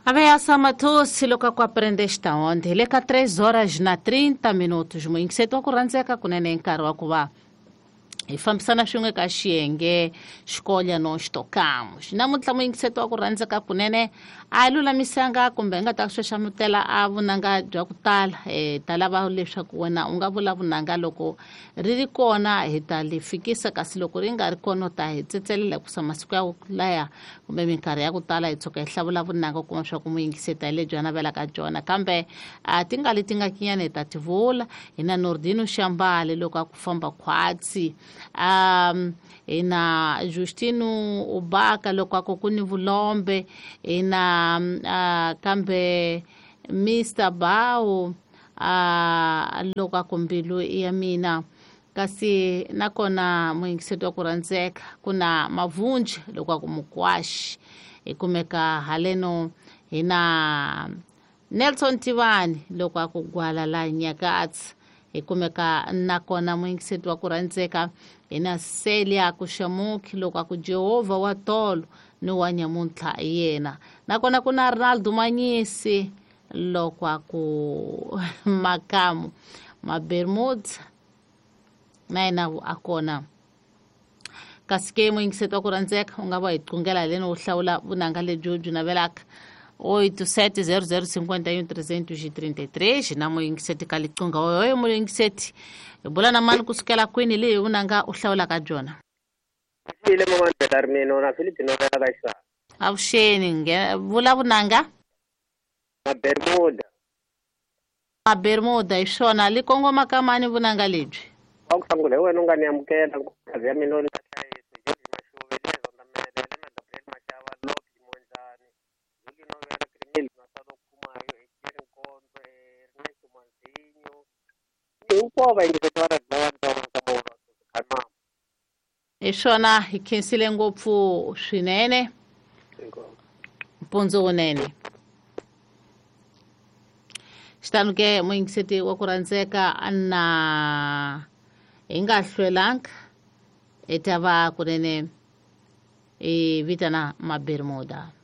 Ameaça matou-se loko ku aprende esta onde le ka 3 horas na 30 minutos muyingiseti wa ku rhandzeka kunene nkarhi wa ku va hi fambisana swin'we ka xiyenge xikolya no xitokamo namuntlha muyingiseti wa ku rhandzeka kunene a lulamisanga kumbe hi nga ta xaxamutela a vunanga bya ku tala ta lava leswaku wena u nga vula vunanga loko ri ri kona hi ta li fikisa kasi loko ri nga ri kona u ta hi tsetselela hikusa masiku ya ku laya kumbe minkarhi ya ku tala hi tshuka hi hlawula vunanga u kuma swa ku muyingiseti hi lebyi a navelaka byona kambe a ti nga leti nga kinyana hi ta ti vula hi na Nordino Xambale loko a ku famba khwatsi hi na Justino Ubaka loko a ku ku ni vulombe hi na kambe Mr Bawo loko a ku mbilu ya mina kasi nakona muyingiseti wa ku rhandzeka ku na Mavunji loko a ku mukwaxi hi kumeka haleno hi na Nelson Tivani loko a ku gwala la Nyakatsi hi kumeka nakona muyingiseti wa ku rhandzeka hi na Celia Kuxamuki loko a ku Jehovha wa tolo ni wa nyamuntlha yena nakona ku na Ronaldo Manyisi loko a ku makamu Mabermuda na yena a kona kasi ke muyingiseti wa ku rhandzeka u nga va hi qungela haleni u hlawula vunanga lebyi u byi navelaka 87 00 51 333 na muyingiseti ka liqunga oyo muyingiseti hi bula na mani kusukela kwini leyi vunanga u hlawulaka byona Ile mama Belarmino na Filipino ka xa. Avuxeni vula vunanga Na Bermuda. Ma Bermuda hi swona li kongoma ka mani vunanga lebyi Wa ku sungula hi wena u nga ni amukela nkosi ya mina ni hlayisa George Mashuve le Zondamele le na Gabriel Mashava Loki Mondlane Juli Novela Krimil na Salo Khumayo Ejeri Nkonzo Ernesto Manzinho hinkwavo vayingiseti va radio va Ntsonga ka Kanama. Hi swona hi khensile ngopfu swinene mpundzu wunene xitanu ke muyingiseti wa ku rhandzeka na hi nga hlwelanga hi ta va kunene hi vitana Mabermuda.